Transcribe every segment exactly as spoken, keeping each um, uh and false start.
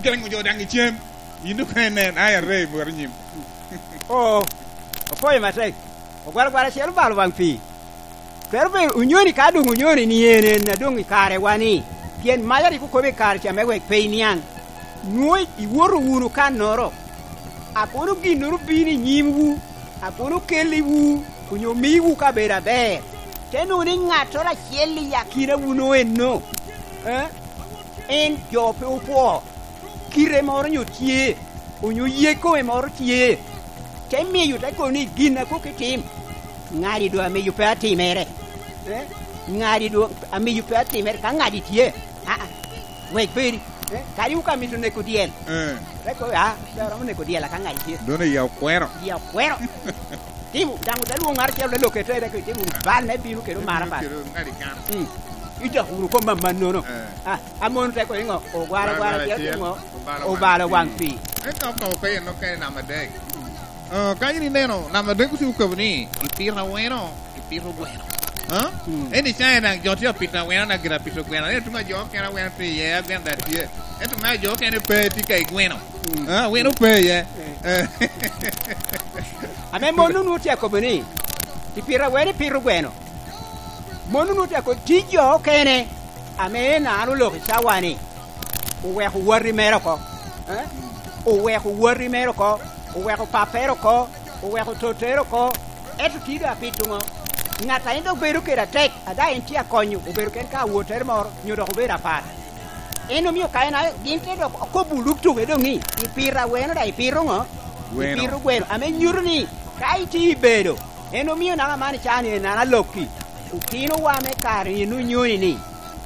Gengo jo dang icem. Yin ka inen ay array bwero nyim. Oh, opoyo matek. Ogwara gwara acel obalo wang pii. Twero bedo onyoni ka dong onyoni ni en en na dong i kare wa ni pien maca rik okobo i kare ca me wek pe iniang. Nwo iwoto wunu ka noro. Akono gin noro bino i nyimwu, akono kelliwu onyo miwu ka bedo aber. Te nongo ni ng'atoro acel i akina wuno eno. Eh? En jo pe opwo. Kite moro nyo tye, onyo ye kome moro tye. Te miyo te kono ni gin a kok itim. Ng'adi do amiyo pe atimere. Eh? Ng'adi do amiyo pe atimere ka ng'adi tye. Ah, ah. Wek bedi. Eh? Kadi uka mito neko diel. Eh. Te ko ah, pe oromo neko diel ka ng'adi tye. Dono ya okwero. Ya okwero. Timo, dango te luongo ng'ato achiel te loke te te timo bal ne bino kendo mara pa. Kendo ng'adi kan. Mm. Idok uru ko mamma nono. Eh. Ah, amono te ko ingo ogwara gwara achiel tingo Obalo obalo wang pii. Ento ko pe no ke namba adek. Uh, ka in ineno namba adek uti ukobo ni ipito aweno, ipito gweno. Huh? Eni caya dang jo tye apito aweno na gira pito gweno. Eno tunga jo kene aweno tye iye, agweno da tye. Ento ma jo kene pe tye ka igweno. Huh? Aweno pe iye. Eh. Ame mon nunu tye akobo ni ipito aweno ipito gweno. Mon nunu tye akobo ti jo kene ame en an oloko i cawa ni oweko wati mere oko. Eh? Oweko wati mere oko, oweko papere oko, oweko totere oko. Ento ti do apito ngo. Ng'at a en dok bedo kede atek, ada en tye akonyo, obedo ken ka awotere moro, nyo dok obedo apat. En omiyo ka en a gin te dok okobo luk tuke dong ni ipito aweno da ipito ngo? Gweno. Ipito gweno. Ame nyuto ni ka iti ibedo, en omiyo nanga man icani en an aloki. Otino wa me kare ni nunyoni ni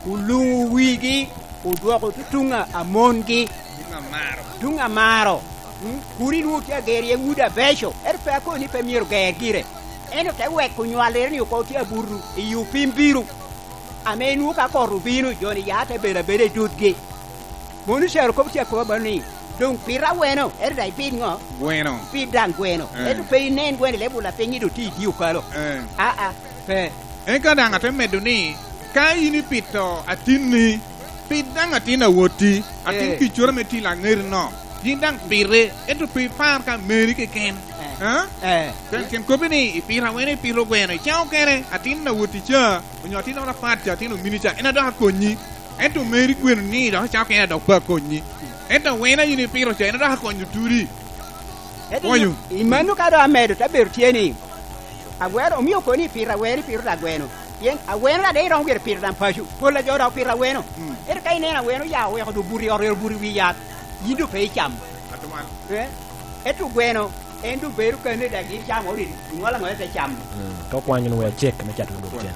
ulungu wigi odwoko tutunga amongi Tunga maro. tunga maro. Mm, Kuni nwo tye ager ye ngudo abeco. Ento pe akoni ni pe myero ger gire. Ento te weko nywalere ni oko tye abutu i upim biro. Ame nwo ka kot obino joni ya te bedo abeda i dudgi. Mono cero kop tye akoba bano ni dong pito aweno ento da ipit ngo? Gweno. Pit dang gweno. Eh. Ento pe inen gweno ilebo lapiny ni do ti idi okalo. Eh. Ah ah pe. Eka dang ate medo ni ka in ipito atinni, pit dang atin awoti, atin Eh. kicoro me ti langeri no. Yin dang pite, ento pe ipar ka meri keken. Eh. Ha? Eh. Ken ken kopi ni ipito awene ipito gweno icamo kene atin awoti ca onyo atin ora pat ca atin omini ca en adok akonyi ento meri gweno ni dok icamo kene dok pe akonyi ento awena in ipito ca en adok akonyo turi Ento Konyo. imano ka do amedo te bedo tye ni agwero omiyo koni ipito aweno ipito da gweno pien aweno da de iromo gire pito dang paco pol a jo dok pito aweno ento ka ineno aweno ya oweko do buto i ot ero buto i wi yath yin do pe icamo Atwal. Eh? Ento gweno en do bedo kene da gin camo ori ingolo angola te camo Ka okwanyo nwe acek me cato ludoko cen.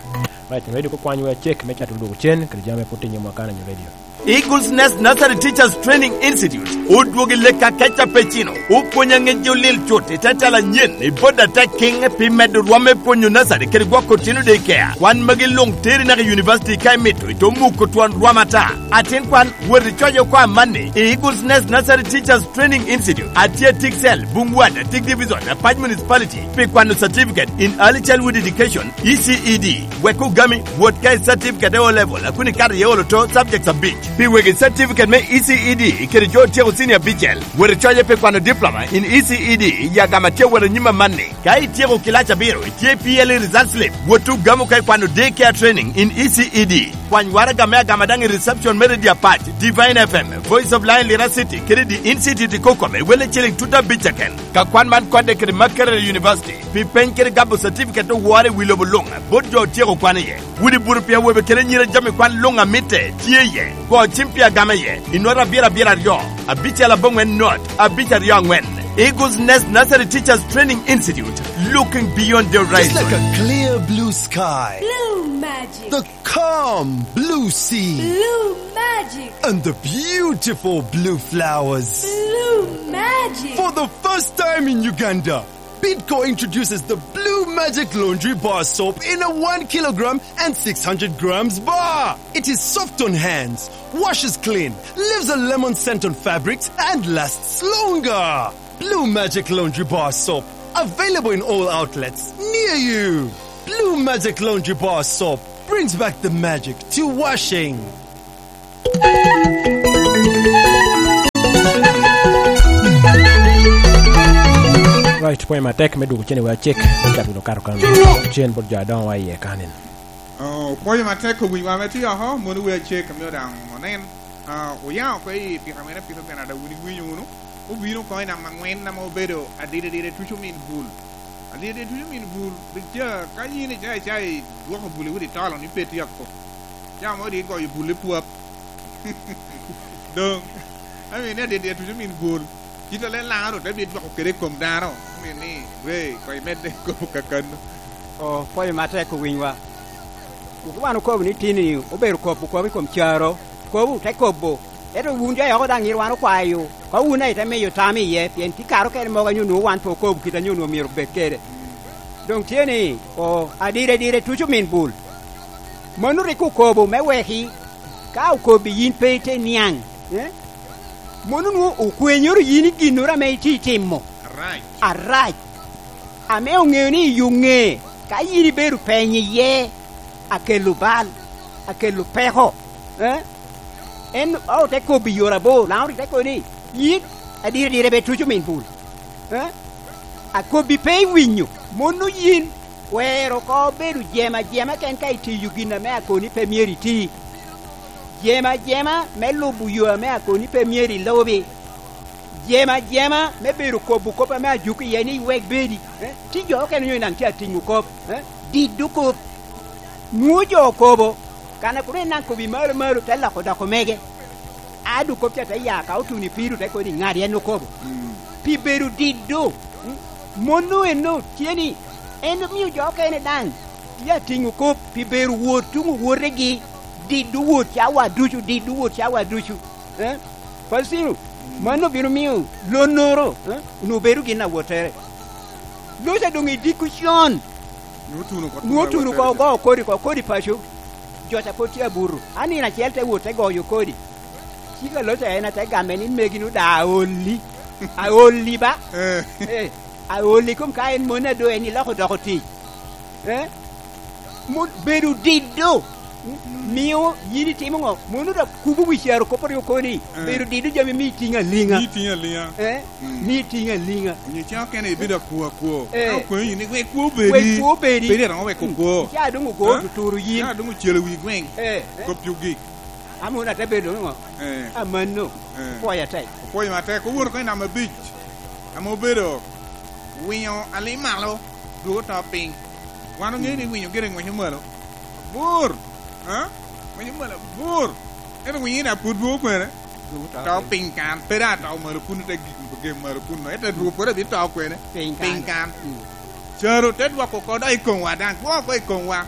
Right, radio ka okwanyo we acek me cato ludoko cen kede jami pud tinyo mwakana nyo radio. Eagles Nest Nursery Teachers Training Institute odwogi lek akeca pe cino opwonyo angec olil cut ite tela nyen i boda te king pi medo rwom me pwonyo nursery kede gwoko otieno daycare kwan magi lung teri naka university ka imito ito muko twon rwom ata atin kwan wot icoyo kwa manni i Eagles Nest Nursery Teachers Training Institute atye Tiksel Bungwad Atik Division Apac Municipality pi kwano certificate in Early Childhood Education E C E D wek ogami wot ka i certificate e O level akuni kato iye olo to subjects abic pi wegi certificate me E C E D kede jo otyeko senior abicel wot icoye pi kwano diploma in E C E D yagama tye wot anyim amanni ka ityeko kilac abiro itye P L E result slip wot ugamo ka ikwano daycare training in E C E D kwany waraga me agama dang i reception me Radio Apac Divine F M Voice of Lion Lira City kede di Institute kokome wele ciling tuta abic keken ka kwan man kode kede Makerere University pi peny kede gabo certificate owore wi lobo lunga bot jo otyeko kwan iye wudi buto pi awobe kede nyira jami kwan lunga mitte tye iye go cim pi agama iye inot abiro abiro aryo abicel abongwen not abic aryo angwen Eagles Nest Nursery Teachers Training Institute, looking beyond the Just like horizon. A clear blue sky, Blue magic. The calm blue sea, Blue magic. And the beautiful blue flowers. Blue magic. For the first time in Uganda, Bidco introduces the Blue Magic Laundry Bar Soap in a one kilogram and six hundred grams bar. It is soft on hands, washes clean, leaves a lemon scent on fabrics, and lasts longer. Blue Magic Laundry Bar Soap. Available in all outlets near you. Blue Magic Laundry Bar Soap brings back the magic to washing. Right, point matek me dugu chene wa check ka kato kan chen bot jadon wa ye kanin. Oh, pwoyo matek ko wiwa me tiyo ho mono we chek mi odang onen. Ah, uyaw ko i pira mene pira mene da wini winyo unu. Ubino ko ina mangwen na mo bedo adide dide tuchu min bul. Adide dide tuchu min bul. Bicha ka yini chai chai duoko bule wudi talo ni peti yakko. Ya mo di go yu bule puap. Dong. I mean, adide dide tuchu min bul. Kita le laro te bi duoko kere kom daro. Mi ni re ko imede ko kakan. O pwoyo matek ko winywa. Ukubano kobu ni tini obedo kobu kobu kom charo. Kobu te kobo. Eto wun jo yoko dang irwano kwayo. Ka wun ai te miyo tami iye pien ti karo kene moga nyo wan po kobu kita nyo miero bet kede. Dong tieni o adire dire tuchu min bul. Monu riku kobu me wehi ka ukobi yin pe te niang. Eh? Monu nu ukwenyoro yin ginora me iti timo. Right. Arach. Ame ong'eyo ni yung'e ka yin ibedo peny iye akelo bal akelo peko. Eh? En o te kobi yora bo lauri te koni yin adire dire be tuchu min bul. Eh? Akobi pe winyo monu yin wero ko bedo jema jema ken ka itiyo gina me akoni pe mieri ti. Jema jema me lubu yo me akoni pe mieri lobi. Jema jema me bedo kobu kopa me ajuki ye ni wek bedi. Eh? Ti jo ken nyo nang tia tingu kop. Eh? Di du kop. Nuo jo kobo. Kana kure nang kobi maru maru te lako dako mege. Adu kop cha te ya ka utuni piru te koni ngari en no kobo. Pi bedo di do. Monu eno tieni. En miyo jo ken dang. Tia tingu kop pi bedo wuot tungu wuoregi. Di du wuot chawa duchu di du wuot chawa duchu. Eh? Pasiru. Mano biro miyo lonoro. Eh? Nu bedo gina wotere. Losa dong idiku chon. Nutuno ko. Nuoturu ko go kodi ko kodi pacho. Jota poti aburu. Ani na chiel te wuote goyo kodi. Chika losa ena te game ni megi nu da oli. Aoli ba. Eh. Eh, aoli kum ka en mona do en iloko doko ti. Eh? Mun bedo dido. Miyo yini timo ngo. Monu da kubu wisharo kopor yo koni. Bedo dido jami mi tinga linga. Ni tinga linga. Eh? Mi tinga linga. Ni cha kene ibido kuo kuo. Eh. Ka kuo ni we kuo bedi. We kuo bedi. Bedi ro we kuo. Cha dungu go Eh? tuturu yin. Ya dungu chelo wi gweng. Eh. Ko pyugi. Amuna te bedo ngo. Eh. Amano. Eh. Poya te. Pwoyo matek owuor ko namba abich. Ama obedo winyo ali malo duogo to piny. Wan ong'eyo ni winyo gire ng'wenyo malo. Bur. Ha? Ng'wenyo malo bur. Ento winyo ina pud duogo kwene. To piny kan. Pera to malo kuno te gik gem malo kuno. Ento duogo pore bi to kwene. Piny kan. Piny kan. Chero te duoko koda i kongwa dang. Duoko i kongwa.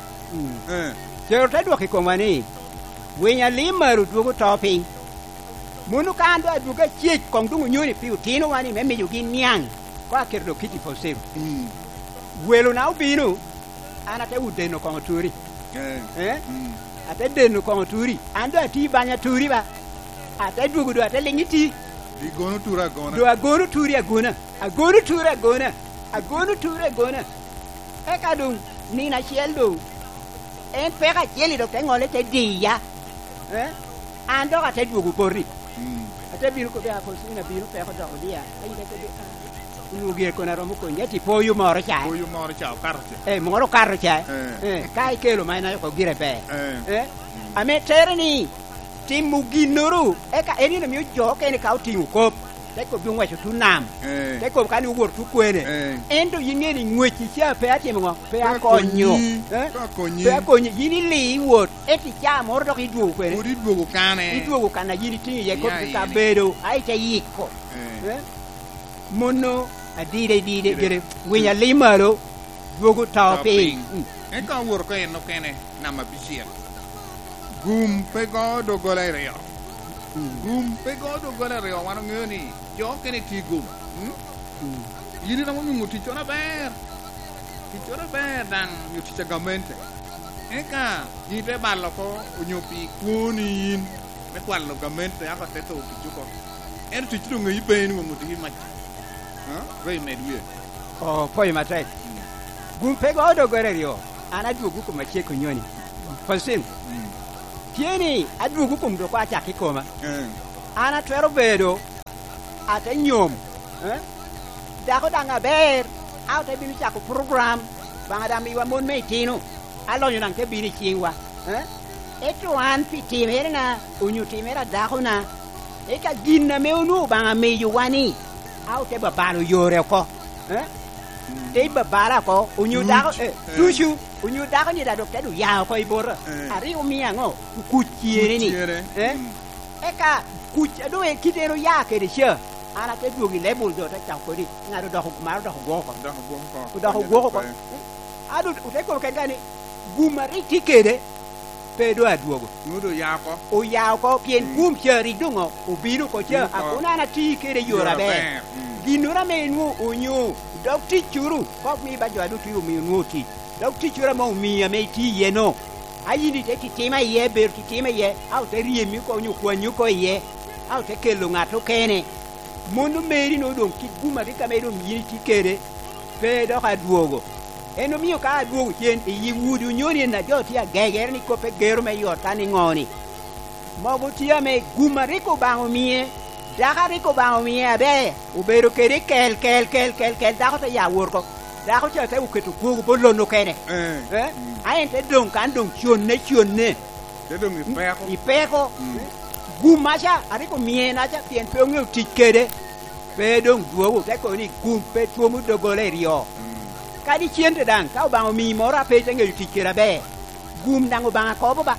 Eh. Chero te dwoki koma ni. Winya limaru duogo to piny. Munu kan do aduoga chiech kong dungu nyoni pi utino wani me miyo gi niang. Ko aketo kiti posero. Mm. Welo na ubino. An ate udeno kong turi. Eh. Eh? Mm. Ate deno kong turi. An do ati banya turi ba. Ate duogo do ate lingi ti. Di gono tura gona. Do agono turi agona. Agono turi agona. Agono turi agona. Eka dung nina chiel dung. En peka chiel dok te ngole te diya. Eh? An dok ate duogo bori. Mm. Ate biro ko bia ko sina biro peko dok dia. Ai te ko Unugie kona romo ko nyeti poyu moro cha. Poyu moro cha okaro cha. Eh moro karo cha. Eh. Eh kai kelo maina ko gire be. Eh. Eh ame terni timu ginoru eka eni no miyo jo kene ka oting'o kop te ko bi ng'wecho tu nam Eh. te ko kani wuor tu kwene Eh. ento ying'e ni ng'wechi cha pe atimo ng'o pe Pe akonyo akonyi. Eh? Pe akonyi. pe akonyi yin ili iwuot eti cha moro dok iduogo kwene Pod iduogo kane. iduogo kana yin iting'o iye kop Ya, ka yini. bedo aite yiko Eh. Eh? mono adire dire gere winya limalo duogo to To piny piny. Eka wuor ko en nokene namba abichiel. Gum pe go dogola iriyo. Gum pe go dogola iriyo wan ong'eyo ni jo kene ti gum. Mm? Yin iromo nwang'o tich moro ber. Tich moro ber dang' nyo tich a gamente. Eka in te balo ko onyo pi kuoni in me kwalo gamente ako te tho tich oko. Ento tich dong ng'eyi pe nwang'o tich mach. Ha? Re med wiye. o poyo matek gum pe go dogore riyo an aduogo kuma chieko nyoni fasin tieni aduogo kuom doko achaki koma Eh. an atwero bedo ate nyom eh? Dako dang aber au te bino cako program banga dang miwa mon me itino alonyo dang te bino i cingwa eh? Eto an pi timere na onyo timere dako na eka gin na me onwo banga miyo wani au te babalo yore oko eh? Te babala ko onyo dako eh, tucu onyo dako ni da dok te du yao ko ibora Eh. ari omiya ngo kuc ciere ni Kuc ciere. eh? Eka kuc ado e kitero ya kede che ana te duogi lebul do te chako kodi ng'ato doko maro doko gwoko Doko gwoko ko. doko gwoko ko ado ute ko ken gani guma ri tikede pedo aduogo Nudo yako. oyaw ko pien gum che ri dungo obino ko che Obino ko. akuna na ti kede yora Yora ber ber. Mm. ginora me nuo onyo dok tic curu kok mi ba jo adu tuyo miyo nuo tic dok tic curu ma omiya me ti iye no ayini te titima iye ber titima iye au te riemi ko onyo kwanyo ko iye au te kelo ng'ato kene mondo meri no dong kit guma ri kame dong yini ti kede pe dok aduogo en omiyo ka aduogo chien iyi wudi onyoni na jo ti agegere ni kope gero me yot ka ni ng'oni mogo tye me guma rik obang'o mie dako rik obang'o mie aber obedo kede kel kel kel kel kel dako te ya wor ko dako cha te oketo kwogo bolono kene Eh. eh aen te dong kan dong chonne chonne Te dong ipeko. ipeko gum acha ariko mie na cha pien pe ong'eyo tich kede pe dong duogo te koni gum pe tuomo dogole rio kadi chien te dang ka obang'o miyi moro ape te ng'eyo tich kede aber gum dang obang'a kobo ba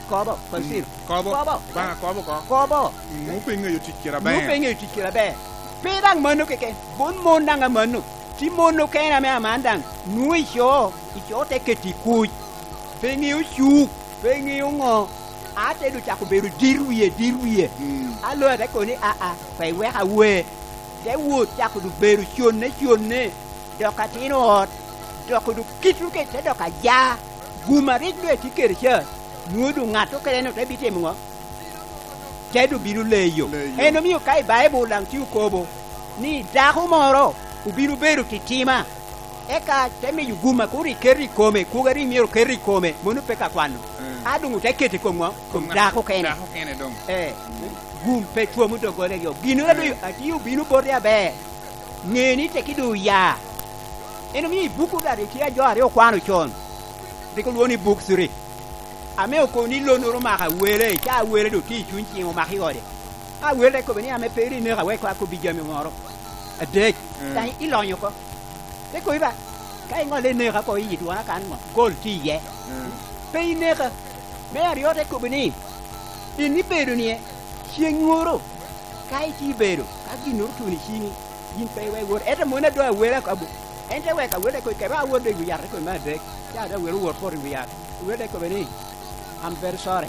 kobo konsir Kobo. kobo Banga kobo ko. kobo Nupe ng'eyo tich kira ber. Nupe ng'eyo tich kede aber pe dang mano keken bon mon dang amano ti mon no kena me aman dang nuo icho icho te keti kuc pe ng'eyo cuk pe ng'eyo ng'o ate do chako bedo dir wiye dir wiye Mm. alo ate koni a a pe wek awe te wuoth chako do bedo chonne chonne dok atin ot dok do kitu ke te dok aja guma rik do ti kere cha nuo do ng'ato kene no te bitimo ng'o te do biro leyo Leyo. en omiyo ka i Bible dang ti okobo ni dako moro obiro bedo titima eka te miyo guma koro iker i kome kuga ri miero ker i kome mono pe ka kwano Mm. adong te kete kom ng'o kom dako kene Dako kene dong. eh gum pe tuomo dogole yo gino la do atiyo bino bote aber ng'eni te kido ya en omiyo i buku da ri tia jo ariyo kwano chon riko luo ni buk siri ame okoni lonoro maka wele cha wele do ti chuny chieng omaki ode a wele ko beni ame peri ne ka we ko akobi jami moro adek Mm. tan ilonyo ko te ko iba ka ingole ne ka ko yi duana kan mo gol ti ye Mm. pe ineka me ariyo te kobo ni in ibedo nie chieng' moro ka iti bedo ka ginoro tuni chingi in pe we wuor ete mon adwa awera ka en te weka awere ko keba awuor de wi yath ko ma adek cha da wero wuor for wi yath were ko beni I'm very sorry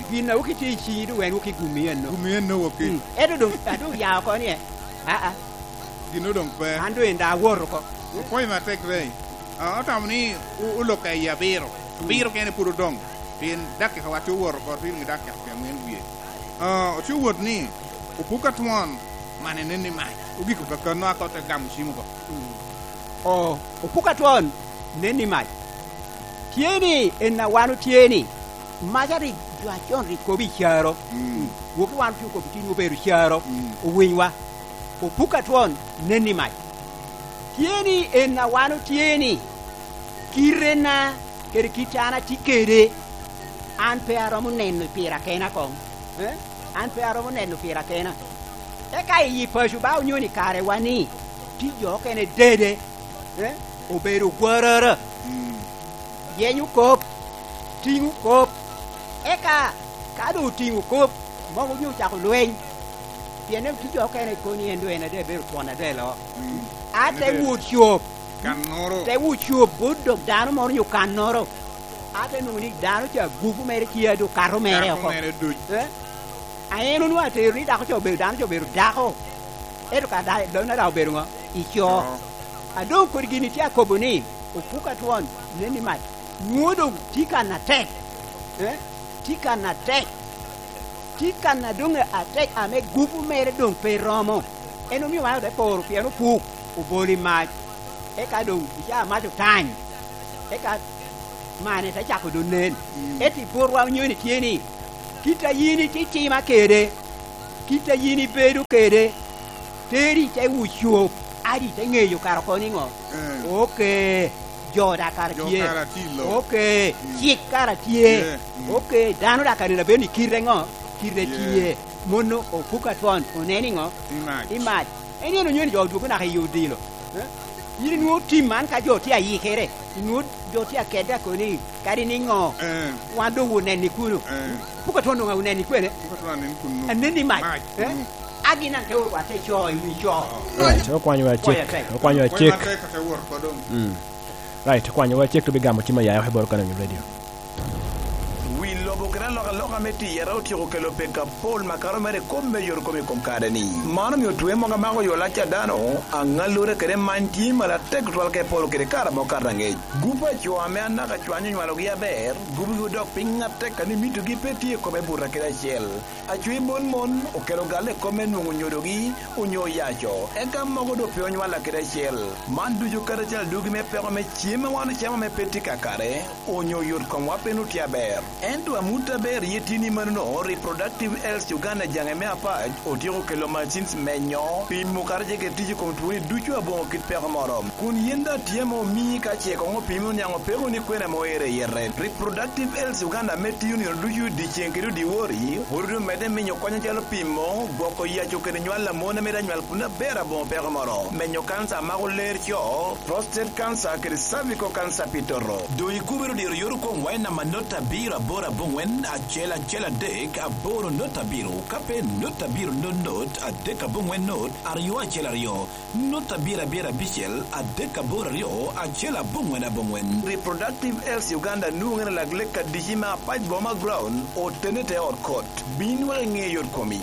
gina ukiti chingi do wen uki gumien no Gumien no woki. ete dong adu yaw ko nie a a Gino dong pe. an do enda awuor ko Poi ma tek rei. Ah, otamo ni u- uloka i abiro. Abiro kene puro dong. Pien dakika wa ti wuoro ko rin gi dakika piero ang'wen wiye. Ah, oti wuot ni opuka tuon mane nene mach. Ogiko kaka no akote gamo chiemo go. o opuka tuon neni mach tieni en na wanu tieni macha ri jwachon ri kobi charo Mm. wuoki wan piyo kobi tini obedo charo Mm. owinywa opuka tuon neni mach tieni en na wanu tieni kirena kede kitana ti kede an pe aromo neno pira kena kong eh? an pe aromo neno pira kena eka iyi pacu ba onyoni kare wani ti jo kene dede eh? obedo gwarara Mm. yenyu kop ting'u kop eka ka do ting'u kop mogo nyo chako lweny pien ti jo kene koni en do en ade bedo twon ade lo Mm. ate Ade. wuot chuop Kanoro. te wuot chuop bot dok dano moro nyo kan noro ate nongo ni dano cha gupu mere kia do kato mere Dako oko mere duc. eh aeno nu atero ni dako cha obedo dano cha obedo dako ento ka da dona da obedo ng'o icho Oh. adong kod gini ti akobo ni opuka tuon neni mach nuo dong ti kana tek eh ti kana tek ti kana dong atek ame gupu mere dong pe romo en omiyo wan ode poro pien opuk oboli mach eka dong icha mach otany eka mane te chako do nen Mm. eti burwa onyoni tie ni kita yini ti tima kede kita yini bedo kede teri te wuchuop adi te ng'eyo kara koni ngo okay jo da kara tie okay chik kara tie okay dano da kara na beni kire ngo kire tie mono opuka ton oneni ngo imaj eni no nyoni jo duko na yudilo yini nuo tim man ka jo ti ayikere nuo jo ti akeda koni kari ni ngo wando woneni kuno puka ton ngo woneni kwene aneni maj agina te wa te cho wi cho right okwanyo wa chek okwanyo wa chek right okwanyo wa chek to bigamo chima yayo hebor kana radio wi lobo kera loka loka meti yera otieko kelo peka pol makaro mere kombe yor kome kom kare ni mano miyo twe moga mako yola cha dano ang'alure kere mantie mala tek twal ke pol kere kara mo kar rang'ech gupa chwo ame anaka chwanyo nywalo gi aber gupi gi dok piny ng'atek kani mito gi pe tie kome bura kere achiel achwe bon mon okelo gale kome nwong'o nyodogi onyo yacho eka mogo do pe onywala kere achiel man ducho kata chal dugi me peko me chiemo wan chamo me peti kakare onyo yot kom wapeno ti aber ento amuta ber yetini manono reproductive health Uganda jange me apach otieko kelo machines menyo pimo kar jeke tije kom tuoni ducho abongo kit peko moro kun yenda tiemo mi ka cheko ngo pimo nyango peko ni kwena moere yerre reproductive health Uganda me tiyo ni ducho dichieng kendo diwori orudo mede menyo konyo chalo pimo gwoko yacho kendo nywal mona meda nywal kuna ber abongo peko moro menyo kansa mago ler cho prostate cancer kendo cervical cancer pitoro do ikubero dir yor kom waina manota biro aboro abong'wen achiel achiel adek aboro not abiro kape not abiro not not adek abong'wen not ariyo achiel ariyo not abiro abiro abichiel adek aboro ariyo achiel abong'wen abong'wen reproductive health Uganda nuong'e lag lek kadichi ma apach boma ground otene te od kot bin wal ng'e yot komi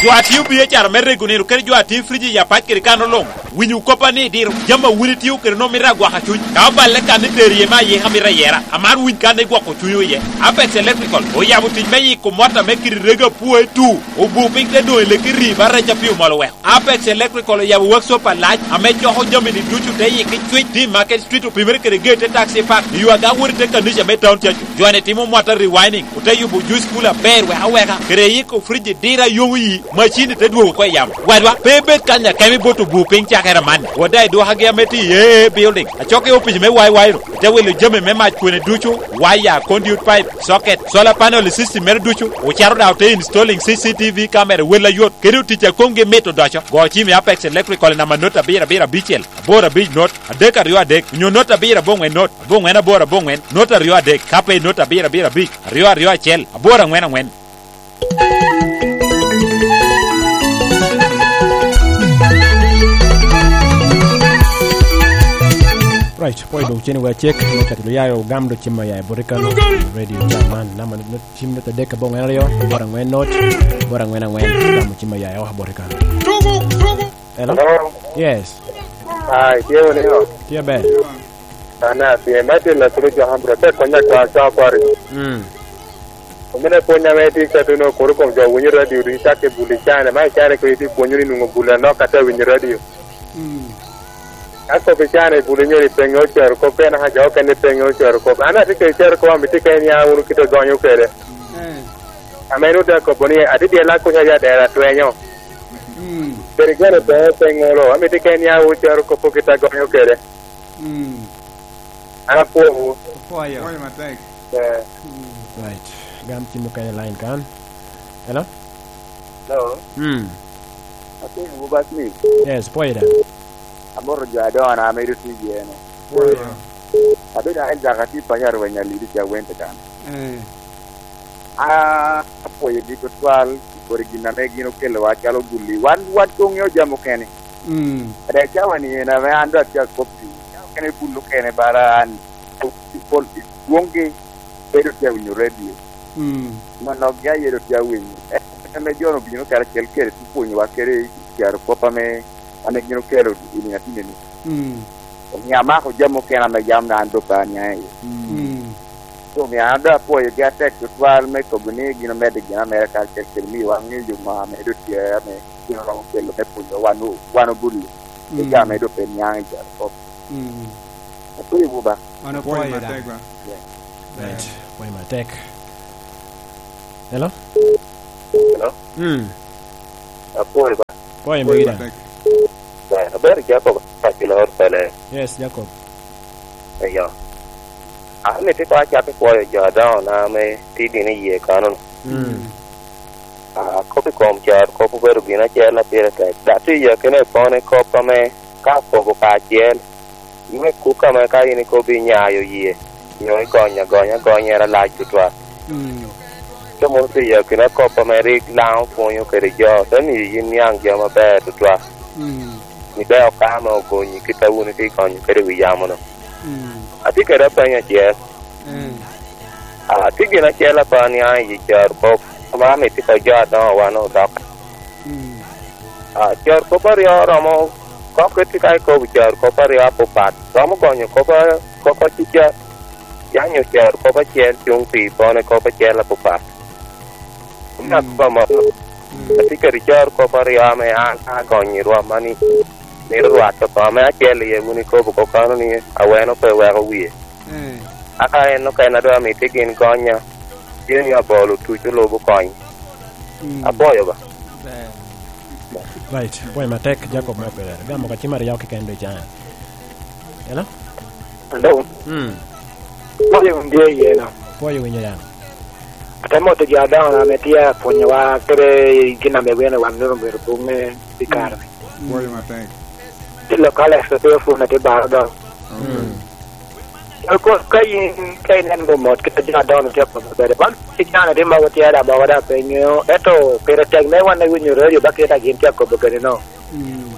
Jwati ubiye char mere gunero ker jwati friji ya pach kere kano long winyu kopa ni dir jama wuri tiu kere no mira gwa hachuny ka balle kan ni teriye ma ye hamira yera amar win kan ne gwa ko chuyo ye Apex Electrical o yabu tij me yiko mota me kiri rega puo tu o bu piny te do le kiri bare cha piu malo we Apex Electrical o yabu workshop alach ame choho jami ni duchu te yiki chwich di Market Street o primere kere gate taxi park yuaga wuri te kanisha me town church jwane timo mota rewinding o te yubu juice kula ber we aweka kere yiko friji dira yomu yi machine te duogo kwa yam wadwa pebe kanya kemi boto bu piny chakera man wadai do hagi ameti ye building achoke opij me wai wai te welo jami me mach kwene duchu wire conduit pipe socket solar panel system mer duchu ocharo da te installing C C T V camera wela yot kedu ticha konge meto dacho go chimi Apex Electrical na manota bira bira bichel abora bij not adek ariyo adek nyo nota bira bongwe not bongwe na bora bongwe nota ariyo adek kape nota bira bira bich ariyo ariyo achiel abora ang'wen ang'wen. Right, poi do cheni wa check no katilo yayo gamdo chima ya borikano radio chaman nama no chim no tadeka bongo ariyo bora ngwen not bora ngwen ngwen gamu chima ya wa borikano. Hello? Hello. Yes. Hi, tiyo leo. Tiyo be. Ana tiyo mati la turuja hambro te konya kwa cha kwari. Mm. Omene ponya meti katuno korukom jo winyo radio ri chake buli chane mai chane ko iti ponyo ni nungo bula no kata winyo radio. Mm. Ako bichane buli nyori pengo chero ko pena ha jo kene pengo chero ko ana tike chero ko amiti kenya unu kito gonyo kere. Eh. Amenu da ko boni adi de la ko ya dera twenyo. Mm. Perigere be pengo lo amiti kenya u chero ko pokita gonyo kere. Mm. Ana po Poyo. Poyo matek. Eh. Right. Gam timo kanya line kan. Hello? Hello. Mm. Ati Buba Smith. Yes, poyo da. Amor jo adona ameru tijeno. Poyo. Abedo en jakati panyar wanyali di wente kan. Eh. Ah, apoyo gi twal origina me gino kelo wachalo guli wan wan tong'yo jamo kene. Mm. Ada chawa ni na me ando atia kopi. Kene bulu kene bara an pol wonge bedo tia winyo radio. Mm. Mano ga yero tia winyo. E me jono bino kara kel kere tupuonyo wa kere kiaro kopa me ane gino kero ini atine ni. Mm. Nyamako jamo kena me jam na ando pa nya e. Mm. So mi ando apoyo gi atek twal me kogni gino mede gino me ka kel kel mi wa ngi yo ma me do tia me gino ro kelo me puonyo wanu wanu bulu. E ga me do pe nya ja ko. Mm. Apoyo buba. Mano Poyo poyo da. matek ba. Right. Poyo matek. Hello? Hello. Mm. Apoyo ba. Poyo Poyo mbigida. matek. Aber Jacob Pachilor pele. Yes, Jacob. Eyo. Ami ti kwa chake kwayo jo down na me tigi ni ye kanun. Mm. Ah, kopi kom char kopu beru gina chela pire tek. Da ti ye kene pone kopa me ka kobo ka chiel. Me kuka me ka yini kobi nyayo ye. Yo gonya gonya gonya ra la chutwa. Mm. Ke mo ti ye kene kopa me rik lao ponyo kere jo. Tani yin yang jo maber tutwa. Mm. Ni be okama ogonyi kita uni ti konyo kere wiyamono. Mm. Ati kere penya chiel. Mm. Ah, ti gina chiel apa ni ai yi char ko ma mi ti ko jo do wa no dok. Mm. Ah, char ko par yo romo ko ke ti kai ko char ko par yo po pat. Romo gonyo ko pa ko ko chi cha. Ya nyo char ko pa chiel chung pi po ne ko pa chiel po pat. Na ko ma. Ati kere char ko par yo me a a gonyi ro mani. Ni ro to pa me a chiel ye uni ko ko kano ni aweno pe wa ko wie. Eh. Aka en no kena do mi ti gin gonya. Gin ya bolu tu chu lobo kony. Mm. Apoyo ba. Ber. Right. Poi matek Jacob maber. Gamo ka chimar yao kikendo chan. Hello? Hello. Mm. Poi un dia iena. Poi winyo yan. Atemo te jada na metia ponyo wa kere gina me wena wa nuru mero bunge di karne. Poi matek. Ti lokale sa te fu na te bar do. Mm. Ko kai kai nen bo mot ke jada na te ko bere. Ban ti jana te ma wotia da ba wada pe nyo. Eto pero tek me wan na winyo radio ba ke ta gin te ko bere no. Mm.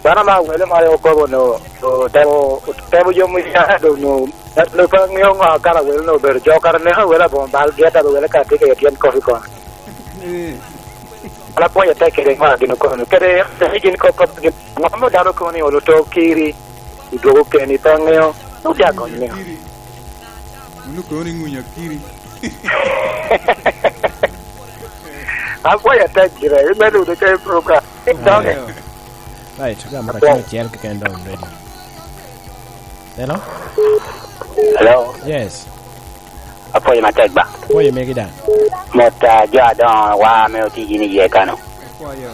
Bana ma wele ma yo ko no. To temo temo yo mu ya do no. Lo pa nyo nga kara wele no bere jo kara ne ha wele bon bal geta wele ka te ke tien kofi ko. Eh. Ala poya te kere ma gino kono kere te gin ko ko gin mo daro ko ni olo to kiri idogo ke ni pangeo no ya ko ni Munu ko ni ngunya kiri. a poya te kire me lu de ke proka donge Right. Gamo ka chimar chiel kikendo radio. Hello? Hello, Yes. apoyo matek ba. Poi megi dan. Mota jo adon wa me otiji ni ye kano. Kwayo.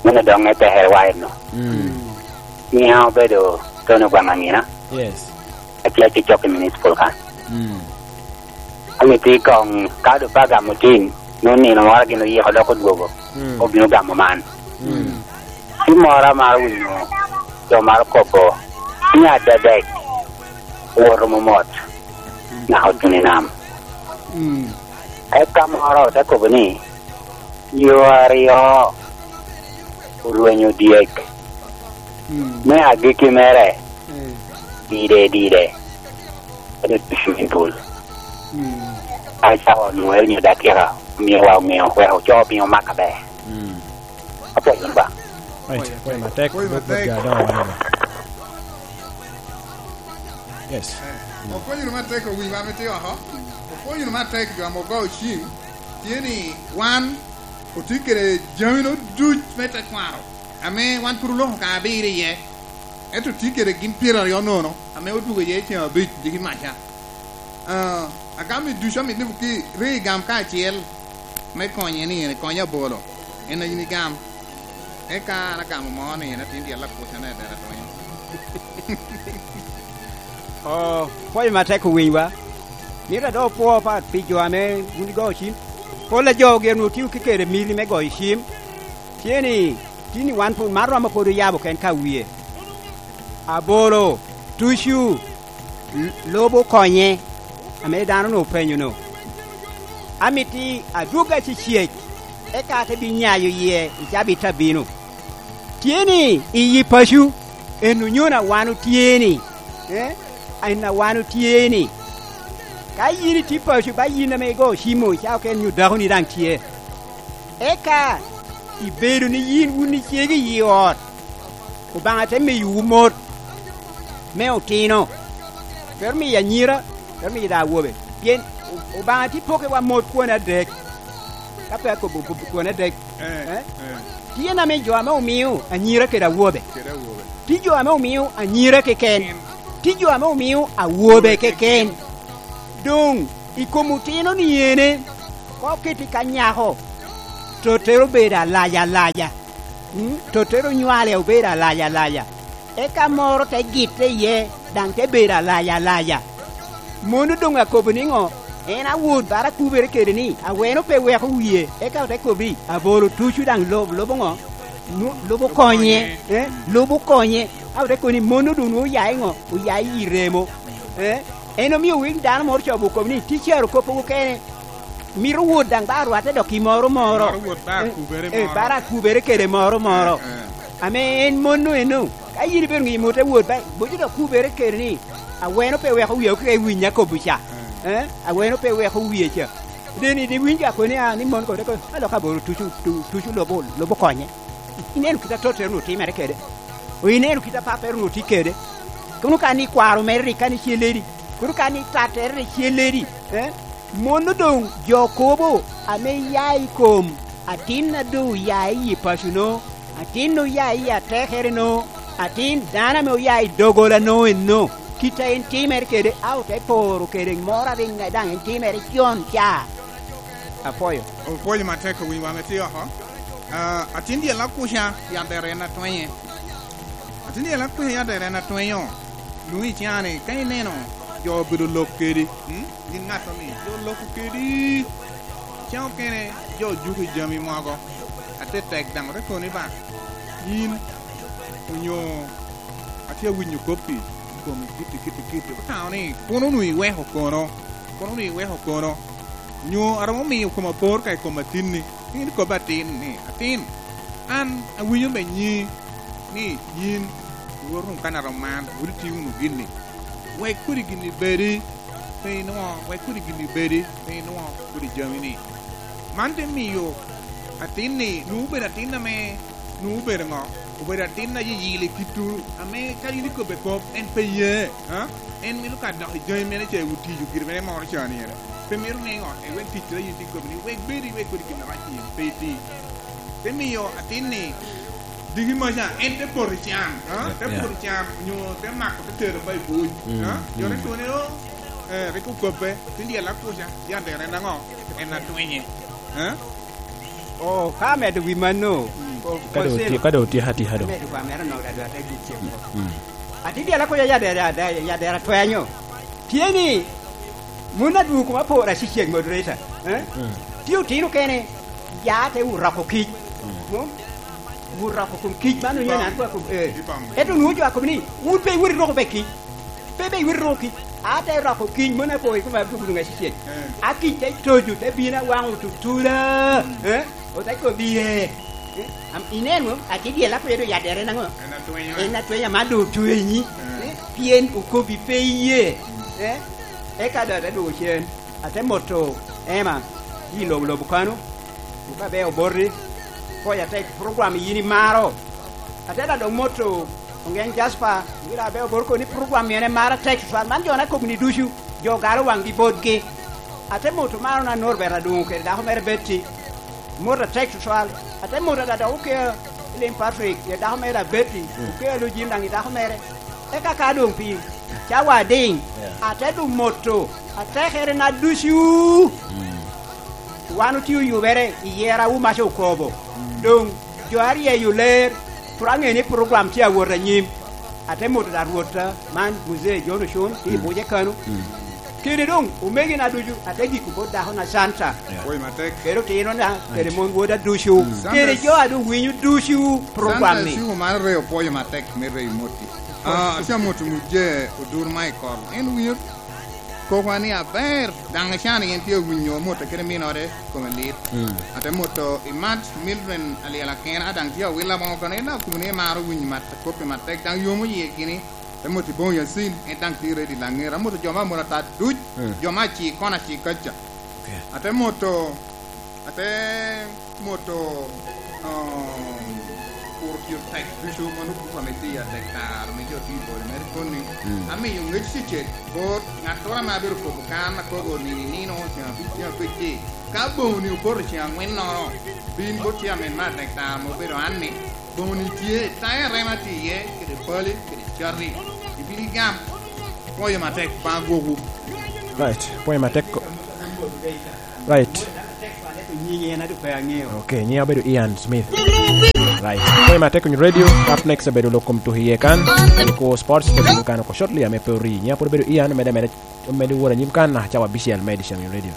Muna dong e teher wa no. Mm. Ni hao bedo tono kwa mangina. Yes. Atia chi chok municipal kan. Mm. Ami ti kong kado pa gamutin. No ni no mara gino ye hodoko gogo. Mm. O gino gamo man. Mm. Ti mora mar wino. Jo mar kopo. Ni adadek. Woro momot. Na hotuni nam. Mm. Eka moro te kopo ni. Yo ariyo. Urwenyo diek. Mm. Me agiki mere. Eh. Dire dire. Ede swimming pool. Mm. Ai sao nuel như đã kia mi wa mi wa ho cho mi ma ka be. Mm. Apo yun ba. Right. Poi matek. Poi Bot matek. ja don wa. Yes. Okonyo matek owi ma miti oko. Okonyo matek jo mogo chim. Tieni wan otikere jamino duch mete kwaro. Ame wan puru loho ka abiri ye. Eto tikere gin piero ariyo nono. Ame otugo ye chieng' abich digi macha. Uh, agami duch amit ni ki ri gam kaachiel me konye ni ene konye abolo. En in igam. Eka an agamo mo ni ene tindi ala kucha ne dera tonyo. Oh, poi matek wiwa. Mira do po pa pi jo ame uni go chim. Pola jo ge no tiu kikere mili me go chim. Tieni tini wan pu marwa ma podo yabo ken ka wiye. Aboro tushu l- lobo konye ame dano no penyo no. Amiti aduga chi chiek eka te bi nyayo ye ichabi tabino. Tieni iyi pashu enu nyona wanu tieni. Eh? Aina wanu tieni. Ka yini ti pashu ba yina me go shimo cha ken nyu dahu ni dang tie. Eka ibedo ni yin uni chiegi yi ot. Obanga te mi yu mot. Me otino. Per mi anyira, per mi da wobe. Pien obanga ti poke wa mot kuona dek. Ka pe ko bu kuona dek. Eh. Eh? Eh. Tie na me jo ame omiu anyira ke da wobe. Kera wuobe. Ti jo ame omiu anyira keken. Ti jo ame omiu awobe keken. Dong ikomutino ni yene ko kiti ka nyako to tero bedo alaja alaja. Totero nywale obedo alaya alaya eka moro te gite iye dang te bedo alaya alaya mon odong akobo ni ngo en awod bara kubere kede ni aweno pe weko wiye eka te kobi abolo tucu dang lobo lobo ngo lobo konye eh lobo konye aw te koni mon odong oyayi ngo oyayi iremo eh en omiyo winy dano moro cobo kobo ni ticero kopo kene miro wod dang ba rwate dok i moro moro eh bara kubere kede moro moro ame en mon eno ka yini bedo ngi mute wod ba bojo dok kubere kede ni aweno pe weko wiye ke winya kobucha eh aweno pe weko wiye cha deni di winja koni a ni mon ko ko alo ka boro tuchu tuchu lobo lobo konye ineno kita tote no timere kede o ineno kita paper no tikede kono kani kwaro merri kani cheleri kono kani tatere cheleri eh mono dong jokobo ame yai kom atin na do yai yi pasuno atin no yai ya tehere no atin dana me yai dogola no no kita en timer kede au te poro kede mora ringa dang en timer chion cha apoyo opoyo mateko wi wa metio ho ah atin dia la kusha ya dere na twenye atin dia la kusha ya dere na twenyo lui chiane kai neno jo bido lokeri hm gin ngato ni jo lokeri chao kene jo juki jami mogo ate tek dang re koni ba yin unyo atia winyo kopi komi kiti kiti kiti tao ni kono nui we ho kono kono nui we ho kono nyo aromo mi kuma por kai kuma tin ni in ko batin ni atin an awinyo me nyi ni yin worun kana roman wurti unu ginni we kuri gini beri pe no we kuri gini beri pe no kuri jamini man te miyo atin ni nu ber atin na me nu ber ngo ber atin na yi yili kitu ame ka yili ko be ko en pe ye ha en mi lu ka do joy mene che uti ju gir mene mo cha ni era pe mi ru ngo e we ti tre yi ti ko ni we beri we kuri gini ra chi pe ti te miyo atin ni digi ma cha en te por cham ha te por cham nyo te mak te ter bai bu ha yo re ko ne o eh re ko ko pe ti dia la ko cha ya de re na ngo en na twenye ha oh ka me de wi mano kado ti kado ti hati hado me kwa mera no da da te gi ati dia la ko ya ya da ya de ra twenyo tieni muna du ko ma po ra si cheng moderator eh tiu tinu kene ya te u ra ko ki wurra ko kum kij manu nyana ko ko eh eto nu jo ko ni wut be wuri ro ko be ki be be wuri ro ki ate ra ko kij mona ko ko ma bu ngai si a ki te toju te bina wang tu tura eh o te ko bi e am inen a ti die la ko ya dere nango ena twenya ma do tuenyi pien u ko bi pe ye eh e ka da do chen ate moto ema yi lo lo bukano ka be oborri koya tek program yini maro ateda do moto ongen Jasper ngira be obor ko ni program yene mara tek fa man jona ko ni dushu jo garo wangi bodge ate moto maro na norbera dun ke da ho mere betti mora tek twal ate moto da do ke lim Patrick ye da ho mere betti ke lu jim dangi da ho mere e ka ka dun pi cha wa ding ate du moto ate here na dushu wanu tiu yubere iyera u masho kobo dong joari ye yuler turange ni program tia wora nyim ate moto da rota man muze jono shon ti boje kanu kiri dong umegi na duju ate giku boda hona santa oi matek kero tino na kere mon woda dushu kere jo adu winyu dushu program ni santa man re opoyo matek me re moti ah sia moto muje odur Michael en winyu ko kwani aber dang shani en tio winyo moto kere minore come lit ate moto imat Mildred aliala ken adang tio wila mo kono na kumne maro winyo mat kopi matek dang yomo ye gini te moto bon yasin en dang tire di langera moto joma mora ta duj joma chi kona chi kacha ate moto ate moto um urtio tek dusu manu ku fameti ya tek tar me jo ti bol mer koni ame yo ngech si che bot ngatora ma beru ko kan ko go ni ni no cha bi cha pe chi ka bo ni por cha ngwen no no bin bo cha men ma tek tar mo pero anni bo ni tie ta re ma ti ye ke de poli ke de charri di bi gam poyo ma tek pa go go right poyo ma tek right nyinyi na du pe angeo okay nyi abedo Ian Smith. Right. Kwe ma Tekony Radio up next abedo lokom to hiye kan ko sports to kan ko shortly ame pori nya por bedo ian mede mede mede wora nyim kan na chawa bishel mede shamin radio.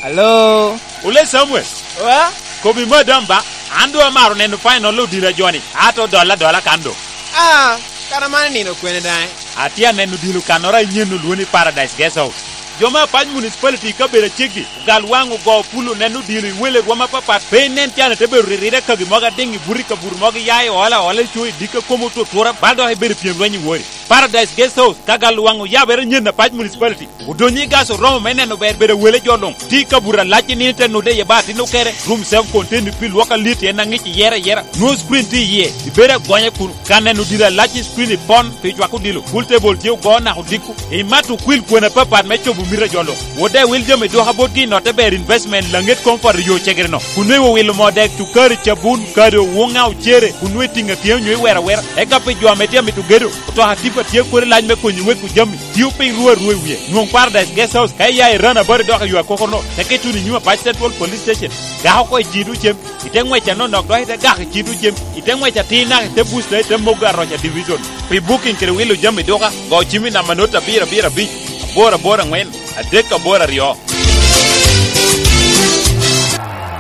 Hello. Ule Samuel. Wa? Kobi madamba ando amaro neno final lo dira Johnny. Ato dola dola kando. Ah, kana mane nino kwene dai. Atia neno dilu kanora nyenu luoni Paradise Guest House. Joma pany municipality ka bedo chegi gal wang go pulo neno dilu wele rwama papat pe nen tiana te bedo ririre ka gimoga dingi buri ka bur mogi yayi ola ola chui dika komo to tora baldo he bedo piem lwenyi wori Paradise Guest House ka gal wang ya bere nyen na pany municipality udonyi gaso romo meneno ber bedo wele jolong ti ka bura lachi ni te nude ye bati no kere room self contained pi lwaka lit en ngichi yera yera no screen ti ye ibere gonye kunu kaneno dira lachi screen pon pi chwako dilo full table ti go na hudiku imatu kwil kwena papat me chobu mira jolo wode wil jami do habot gi note ber investment langet comfort yo chegerno kunwe wo wil modek tu kar chabun kado wonga uchere kunwe tinga tiyo nywe wera wera e ka pe jwa metia mitu gedo to hatipa tiyo kore lany me konyi we ku jami tiyo piny ruo ruo wiye nwong Paradise Guest House ka ya irana bari do yo kokono te ketu ni nyuma pach Central Police Station ga ko jidu chem ite ngwecha no nok do ite ga jidu chem ite ngwecha tina te boost te moga rocha division pi booking kere wilo jami doka go chimi na manota bira bira bi bora bora ngwen adek bora rio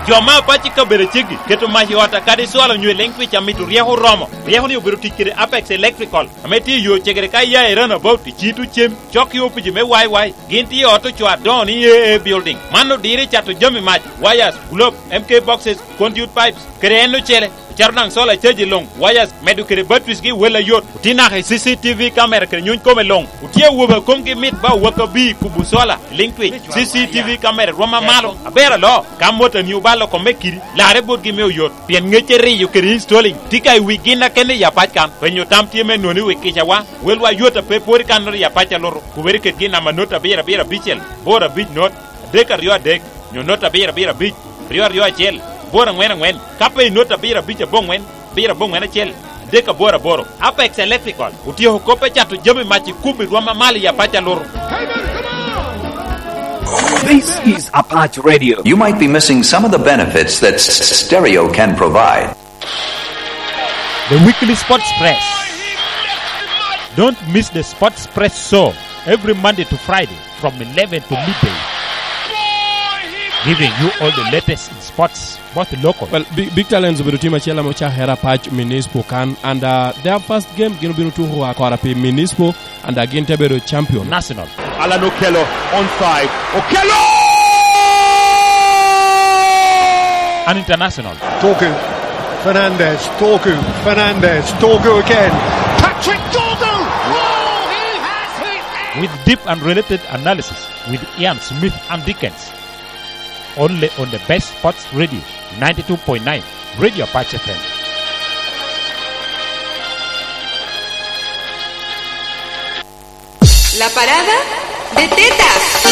joma pachi ka bere chegi keto mahi ota kadi swalo nywe leng picha mitu rieho romo rieho ni obedo tich kede Apex Electrical ameti yo chegere ka ya iran about chitu chem chok yo piji me wai wai ginti oto chwa don E A building mano dire chato jami mach wires globe M K boxes conduit pipes kere eno chere charnang sola cheji long wires medu kere batteries gi wela yot utina he C C T V camera kere nyun kome long utie wuba kom gi mit ba waka bi kubu sola link twitch C C T V camera roma malo abera lo kamota ni ubalo kome kiri lare bot gi me yot pien ngeche riyo kere installing tika wi gina kene ya pach kan penyo tam tie me noni wi kicha wa welwa yota pe pori kan ya pacha loro kuberi ket gi na manota bira bira bichel bora bich not dek ariyo adek nyo nota bira bira bich riyo ariyo achiel bora ngwen ngwen kape nota bira bicha bongwen bira bongwen achiel deka bora boro Apex Electrical utiyo kope chato jami machi kumi rwama mali ya pacha loro. This is Apache Radio. You might be missing some of the benefits that stereo can provide. The weekly Sports Press. Don't miss the Sports Press show every Monday to Friday from eleven to midday. Giving you all the latest in sports, both local. Well, big, big talents obedo team achiel mocha hera pach Municipal kan and uh, their first game gino biro tugo akora pi Municipal and again tebedo champion. National. Alan Okello onside. Okello! And international. Dorgu, Fernandez, Dorgu, Fernandez, Dorgu again. Patrick Dorgu! Oh, he has hit! With deep and related analysis with Ian Smith and Dickens. Only on the best sports radio, ninety-two point nine, Radio Apache F M. La parada de tetas.